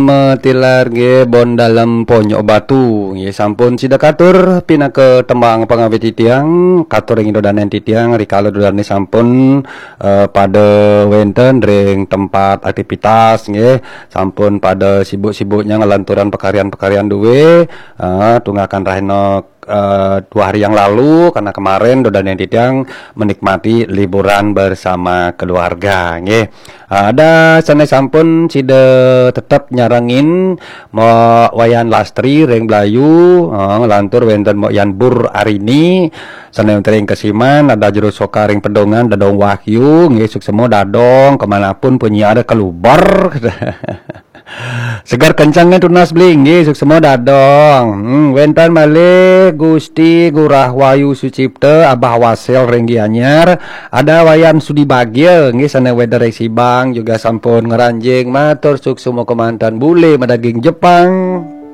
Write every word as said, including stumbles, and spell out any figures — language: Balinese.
Metilar nggih, Bon Dalem Ponyok Batu nggih, sampun sida katur pinaka tembang pangawit titiang, katur ring ida dané titiang, rikala ida dané sampun eh, pada wénten ring tempat aktivitas nggih, sampun pada sibuk-sibuknya ngelanturang pakaryan-pakaryan duwé, eh, tunggakan rahina eh, dua hari yang lalu, karena kemarin ida dané titiang menikmati liburan bersama keluarga nggih. Ah, ada sané sampun sida tetep nyarengin Mbok Wayan Lastri ring Blayu, ah, nglantur wénten Mbok Yan Bur Arini, sané wénten ring Kesiman, ada Jero Soka ring Pedongan, Dadong Wahyu, nggih suksma Dadong, kemanapun penyiar kelubar. Seger kenceng kan tunas beli, nggih suksma Dadong. Hmm, wénten malih Gusti Ngurah Wahyu Sucipta, Abah Wasel ring Gianyar, ada Wayan Sudi Bagia, nggih sané wénten ring Sibang, juga sampun ngranjing matur suksma kemanten bule madaging Jepang.